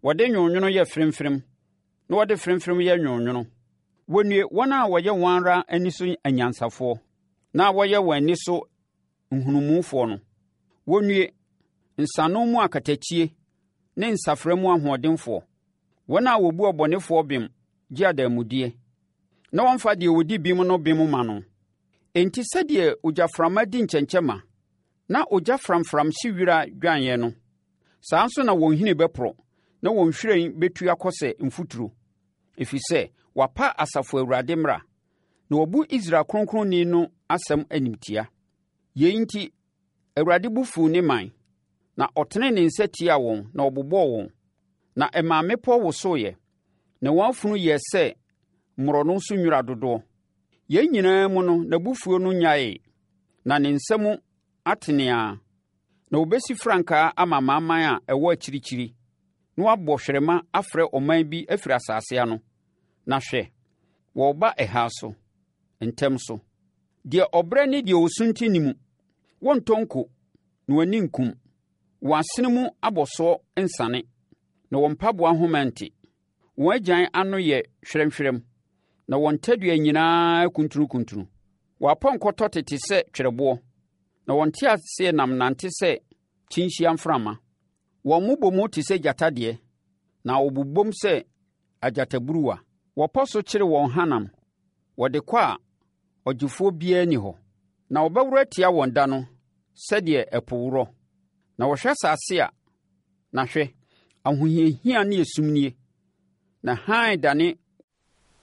Wɔde nwononwono yɛ fremfrem na wɔde fremfrem yɛ nwononwono. Wɔnnue, wɔn a wɔyɛ wɔn ara ani so anyansafoɔ na wɔyɛ wɔn ani so nhunumufoɔ no. Wɔnnue, nsano mu akatakyie ne nsafra mu ahoɔdenfoɔ, wɔn a wɔbu ɔbɔnefoɔ bem gye adanmudeɛ na wɔmfa deɛ ɔdi bem no bem ma no. Enti sɛdeɛ ogyaframa di nkyɛnkyɛmma na ogya framfram hye wira dwaneeɛ no, saa ara nso na wɔn nhini bɛporɔ na wɔn nhwiren bɛtu akɔ sɛ mfuturo, ɛfiri sɛ wɔapa Asafo Awurade mmara na wɔabu Israel Kronkronni no asɛm animtia. Yei nti, Awurade bo fuu ne man, na ɔtenee ne nsa tiaa wɔn na ɔbobɔɔ wɔn, na ɛmaa mmepɔ wosoeɛ, na wɔn afunu yɛɛ sɛ mmorɔno so nwira dodoɔ. Yei nyinaa mu no, n'abufuo no nnyaee, na ne nsa mu atene ara. Na wɔbɛsi frankaa ama amanaman a ɛwɔ akyirikyiri, na wɔabɔ hwerɛma afrɛ ɔman bi afiri asase ano. Na hwɛ, wɔreba ɛha so, ntɛm so. Deɛ ɔbrɛ ne deɛ ɔsunti nni mu, wɔntɔ nko, na wɔn ani nkum. Wɔn asene mu abɔsoɔ nsane, na wɔn mpaboa nhoma nte. Wɔn agyan ano yɛ hwerɛmhwerɛm, na wɔn tadua nyinaa kuntunukuntunu. Wɔn apɔnkɔ tɔte te sɛ twerɛboɔ, na wɔn nteaseɛnam nante sɛ kyinhyia mframa. Wɔn mmobɔmu te sɛ gyata deɛ, na wɔbobom sɛ agyataburuwa. Wɔpɔ so kyere wɔn hanam, wɔde kɔ a ɔgyefoɔ biara nni hɔ. Na wɔbɛworo atia wɔn da no sɛdeɛ ɛpo worɔ. Na wɔhwɛ asase a, na hwɛ, ahohiahia ne esum nie, na hann dane